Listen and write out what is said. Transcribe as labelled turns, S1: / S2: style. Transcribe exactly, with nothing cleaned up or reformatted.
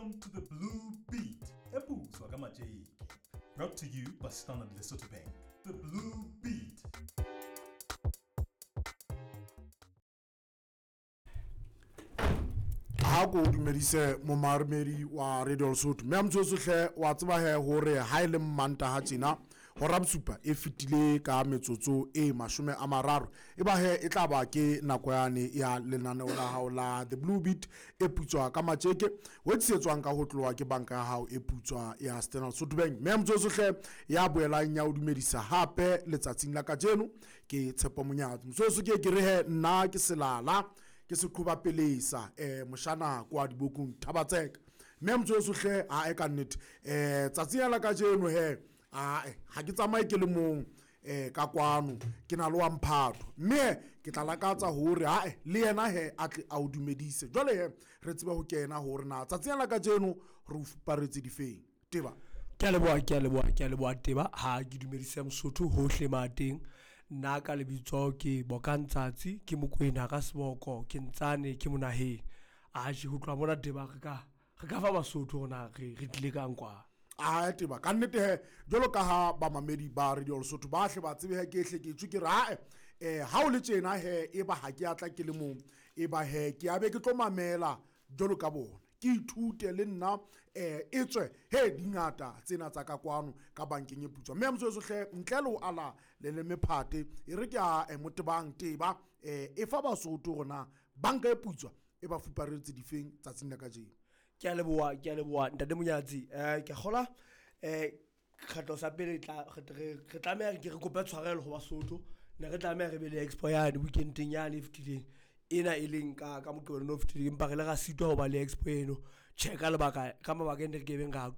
S1: Welcome to the Blue Beat, eputswa ka matjeke. Brought to you by Standard Lesotho Bank. The Blue Beat.
S2: Ha ko dumedise momarmedi wa Radio Lesotho mme a motsotso hle wa tseba he hore ha e le Mmantaha tjena hora bosupa e fetile ka metsotso e mashome a mararo, e ba he e tla ba ke nako yane ya lenaneo la hao la The Blue Beat e putswa ka matjeke, o tsetswang ka ho tloha ke banka ya hao e putswa ya Standard Lesotho Bank. Mme a motsotso hle ya boelang ya o dumedisa hape letsatsing la kajeno ke Tshepo Monyatsi. Motsotso ke ke re he nna ke selala ke seqhoba pelesa eh moshana kwa dibokong Thabatseka. Mme motsotso hle ha e ka nnete eh tsatsing la kajeno he a ha ke tsamaye ke le mong eh ka kwano ke na le wa mphato, mme ke tla lakatsa hore ha le yena he a tle a o dumedise. Jwale he re tsebe ho kena hore na tsatsing la kajeno re o fuparetse difeng. Teba
S3: ke a leboha, ke a leboha, ke a leboha Teba. Ha ke dumedise Mosotho hohle mateng. Nna ka lebitso ke Bokang Tsatsi, ke Mokwena ka seboko, ke Ntsane, ke monaheng. Atjhe, ho tloha mona Teba re ka re ka fa Basotho hore re re tlile kang kwa.
S2: A Teba ka nnete he jwalo ka ha bamamedi ba Radio Lesotho ba hle ba tsebe he ke hle ke tswe ke re ae eh ha o le tjena he e ba ha ke atla ke le mong, e ba he ke abe ke tlo mamela jwalo ka bona, ke ithute le nna eh e tswe he dingata tsena tsa ka kwano ka bankeng e putswa. Mme motsotso hle ntle le ho ala le le mephate e re ke a motebang Teba eh e fa Basotho rona banka e putswa e ba fuparetse difeng tsatsing la kajeno.
S3: Ke a leboha, ke a leboha ntate Monyatsi. Eh ke kgola eh kgetlo sa pele tla re re tlameha ke re kope tshwarelo ho Basotho. Ne re tlameha re be le expo yane weekendeng yane e fetileng ena e leng ka ka Moqebelo no fetileng, empa re le ra sitwa ho ba le expo eno. Tjhe, ka lebaka ka mabaka e ne re kebeng ra